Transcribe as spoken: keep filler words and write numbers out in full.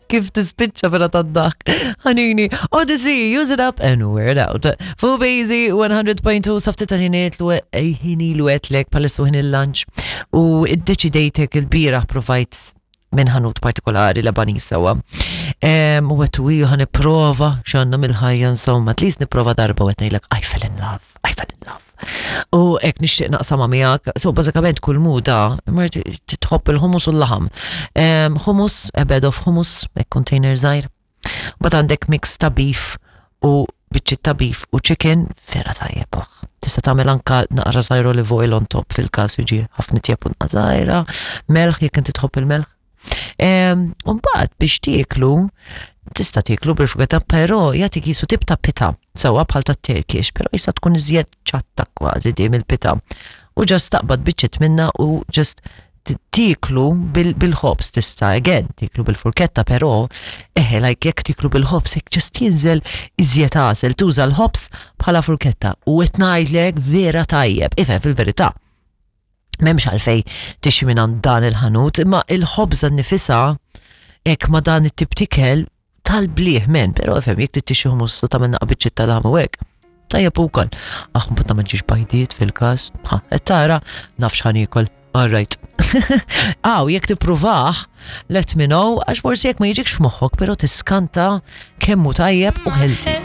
Kif tispiċċa vera tad-daħk. Ħanini, Odyssey, use it up and wear it out. Fuq Bazy one hundred point two safti tal-ħiniet l ħini l għetlek palissu ħin il-lunch u id-deċidejtek il-bieraħ provajt minn ħanut partikolari Lebanese sewwa. U għedt u ħa nipprova x'għandna mill-ħajja insomma, at least nipprova darba u għedt I fell in love, I fell in love. U hekk nixtieq naqsama miegħek, so bażikament kull muda, marti titħobb il-hummus u l-laħam. Hummus, a bed of hummus, hekk container żgħir. But għandek mix ta' beef u biċċiet ta' beef u chicken, vera tajjeb oħ. Tista' tagħmel anka naqra żgħir olive oil on top fil-każ jiġi ħafna tjeb u żgħira, melħ jekk inti tħobb il-melħ. Umbagħad biex tieklu, tista' tieklu bil-fugata, però jagħtik jisu tip ta' pita, sewwa bħal ta' Turkish, però jista' tkun iżjed ċatta kważi di mill-pita. U just taqbad biċċiet minna u just tieklu bil-ħobs tista' again, tieklu bil-furketta, però eħe, like jekk tieklu bil-ħobs, jekk just jinżel iżjed għasel, tuża l-ħobs bħala furketta u qed ngħidlek vera tajjeb, ifhem fil-verità. M'hemmx għalfejn tixtri minn dan il-ħanut, imma il-ħobża nifisha hekk ma dan it-tip t'ikel tal-bliħ men, però ifhem jekk tixtri hummus u tagħmel naqra biċċiet tal-laħam u hekk. Tajjeb ukoll. Aħ, mbagħad ma ġiex bajdiet fil-każ. Ha, qed tara naf x'ħa niekol. All right. Aw, jekk tippruvah, let me know, għax forsi jekk ma jiġikx f'moħħok, però tiskanta kemm hu tajjeb u healthy.